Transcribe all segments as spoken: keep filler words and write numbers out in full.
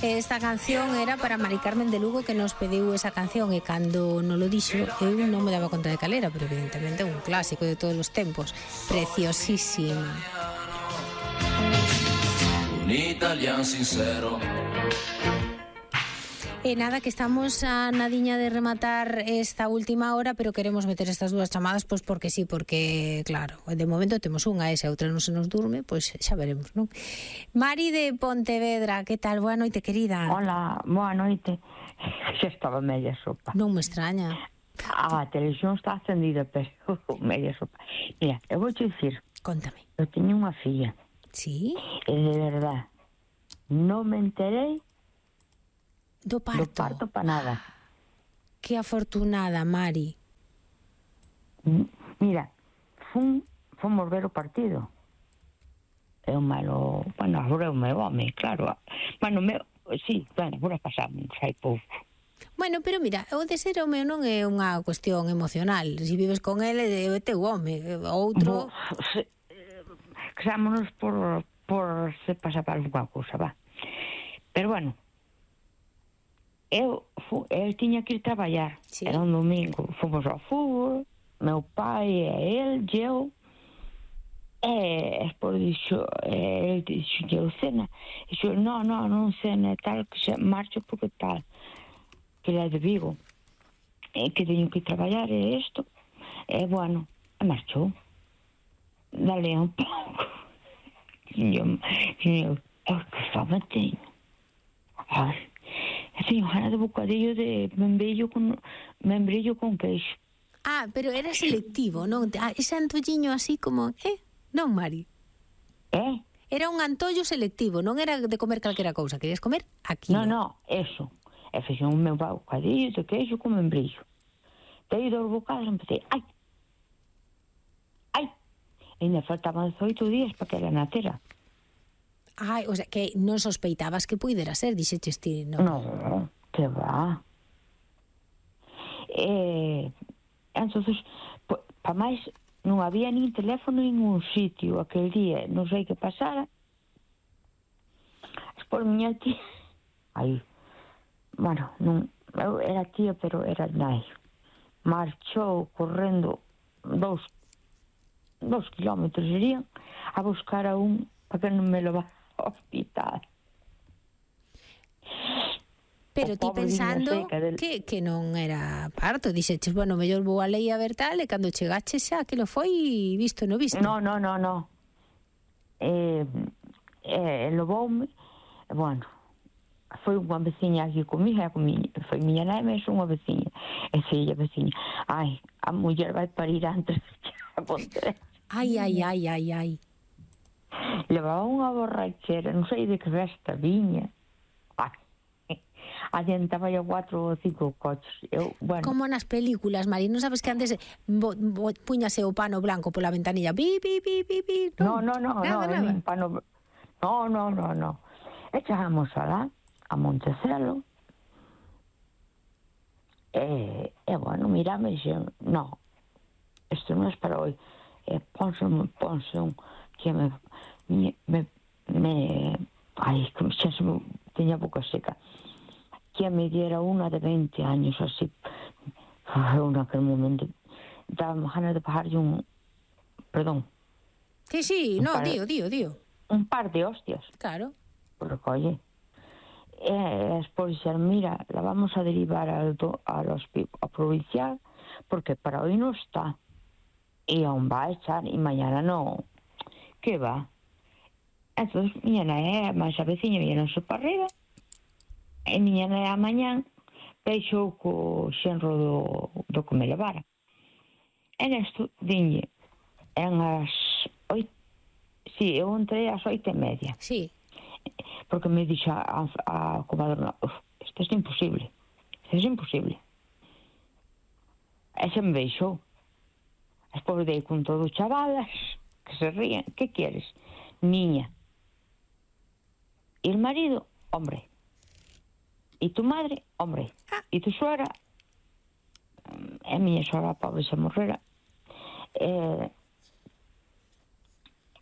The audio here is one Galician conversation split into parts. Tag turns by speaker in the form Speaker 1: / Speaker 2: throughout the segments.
Speaker 1: Esta canción era para Mari Carmen de Lugo, que nos pediu esa canción, e cando non lo dixo eu non me daba conta de cal era, pero evidentemente é un clásico de todos os tempos, preciosísima.
Speaker 2: Un italiano sincero.
Speaker 1: E nada, que estamos a nadiña de rematar esta última hora, pero queremos meter estas dúas chamadas, pois porque sí, porque, claro, de momento temos unha, e se a outra non se nos durme, pois xa veremos, non? Mari de Pontevedra, que tal? Boa noite, querida.
Speaker 3: Hola, boa noite. Xa estaba media sopa.
Speaker 1: Non me extraña.
Speaker 3: A televisión está acendida, pero media sopa. Mira, eu vou te dicir.
Speaker 1: Contame.
Speaker 3: Eu teño unha filla.
Speaker 1: Sí?
Speaker 3: E de verdad, non me enterei
Speaker 1: do parto.
Speaker 3: Do parto pa nada.
Speaker 1: Que afortunada, Mari.
Speaker 3: Mira, fun, fomos ver o partido. É o malo... Bueno, agora é o meu home, claro. Bueno, meu... Sí, bueno, agora pasamos, hai pouco.
Speaker 1: Bueno, pero mira, o de ser home non é unha cuestión emocional. Se vives con ele, é teu home. Outro...
Speaker 3: Se, casámonos por, por se pasa para alguna cousa, va. Pero bueno, eu, eu tiña que ir traballar. Sí. Era un domingo, fomos ao fútbol, meu pai e el, eu, e despois dixo, ele dixo, eu cena, e dixo, no, no, non cena, tal, que se marcho porque tal, que ele é de Vigo, e que teño que ir traballar, e isto, e bueno, e marchou. Dale un pouco. E eu, eu, que fama teño. Ai, teño gana de bocadillo de membrillo con membrillo con queixo.
Speaker 1: Ah, pero era selectivo, non? Ah, ese antolliño así como, eh? Non, Mari?
Speaker 3: Eh?
Speaker 1: Era un antollo selectivo, non era de comer calquera cousa, querías comer aquí.
Speaker 3: Non, non, eso. E fixo un meu bocadillo de queixo con membrillo. Dei dos bocados e empecé, ai, ai, e ainda faltaban dezoito días para que ela nacera.
Speaker 1: Ai, o sea, que non sospeitabas que puidera ser, dixeches ti, non?
Speaker 3: Non, que va. Eh, entonces, pues, pa máis, non había nin teléfono en ningún sitio aquel día, non sei que pasara. Por miña tía, aí, bueno, non, eu era tía, pero era nai. Marchou correndo dous, dous kilómetros serían, a buscar a un para que non me lo va hospital.
Speaker 1: Pero ti pensando del... que, que non era parto, dixeches, bueno, mellor vou a lei a ver tal, e cando chegaches xa que lo foi visto no visto.
Speaker 3: No, no, no, no. Eh, eh, lo voume, bueno, foi unha veciña aquí comigo, foi miña nai, mas unha veciña, e filla veciña, ai, a muller vai parir antes de a Pontevedra.
Speaker 1: Ai, ai, ai, ai, ai.
Speaker 3: Levaba unha borrachera, non sei de que festa viña. Adiantaba yo cuatro ou cinco coches. Eu, bueno.
Speaker 1: Como nas películas, Mari, non sabes que antes bo, bo, puñase o pano blanco pola ventanilla? Bi, bi, bi, bi, bi.
Speaker 3: No, no, no, nada, no, nada. Pano... no, no, no, no. Echábamos alá, a Montecelo, e, e bueno, mirame e dixen, no, isto non é para hoy. E ponse, ponse un que me me, me, me ai, que xa se me teña a boca seca, que me diera unha de veinte años así. Eu naquele momento daba ganas de pagarlle un, perdón,
Speaker 1: sí, sí, no, par, dío, dío, dío
Speaker 3: un par de hostias,
Speaker 1: claro,
Speaker 3: porque oye, e despois dixeron, mira, la vamos a derivar al, al hospital a provincial porque para hoy no está, e aún va a echar, e mañana no, que va. Entonces, mañana é máis a veciña viñeron para arriba, e mañana é a mañán peixou co xenro do, do que me levara. E nesto, dinlle, en as oito, si, sí, eu entrei ás oito e media.
Speaker 1: Sí.
Speaker 3: Porque me dixo a, a comadrona, isto é imposible, isto é imposible. E se me deixou. Despois dei con todos chavalas que se rían. Que queres? Niña. Y el marido, hombre. Y tu madre, hombre. Y tu suegra, é miña suegra, pobre, se morrera. Eh,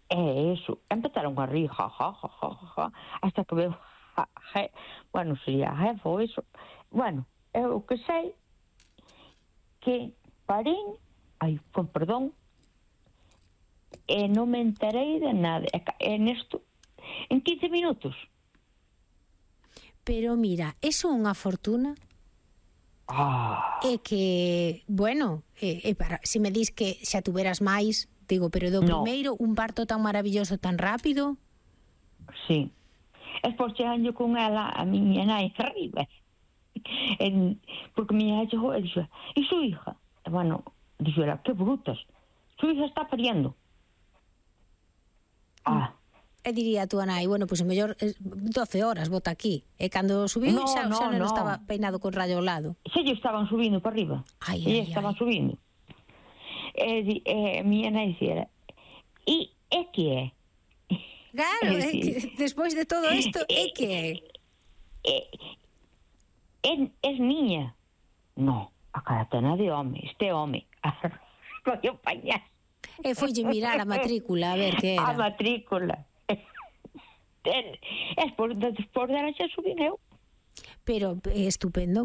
Speaker 3: eh, eso. Empezaron a rir, ja, ja, ja, ja, ja, hasta que veo a, a, bueno, sería a jefa ou iso. Bueno, eu que sei que parín, ai, con perdón, e non me enterei de nada. E, e nesto, en quince minutos.
Speaker 1: Pero mira, eso é unha fortuna.
Speaker 3: Ah.
Speaker 1: É que, bueno, é, é para, se me dis que xa tuveras máis, digo, pero do
Speaker 3: no.
Speaker 1: primeiro, un parto tan maravilloso, tan rápido.
Speaker 3: Sí. Es por cheganlle con ela a miña nai arriba. En, porque miña nai chegou e dixo, e su hija? E, bueno, dixo ela, que brutas, su hija está pariendo. Ah.
Speaker 1: E diría a túa nai, bueno, pois pues, mellor doce horas bota aquí. E cando subiu
Speaker 3: no,
Speaker 1: xa,
Speaker 3: no,
Speaker 1: xa non
Speaker 3: no.
Speaker 1: estaba peinado con rayo ao lado.
Speaker 3: Xa lle estaban subindo para arriba.
Speaker 1: Ai,
Speaker 3: e
Speaker 1: ai,
Speaker 3: estaban
Speaker 1: ai.
Speaker 3: subindo. E, di, e miña nai dixera, e é que é?
Speaker 1: Claro, é que despois de todo isto, é que é?
Speaker 3: É, é niña. No, a caratana de home, este home. Coño pañas.
Speaker 1: E foille mirar a matrícula, a ver que era.
Speaker 3: A matrícula. Es por, despois dela xa subín eu.
Speaker 1: Pero é estupendo,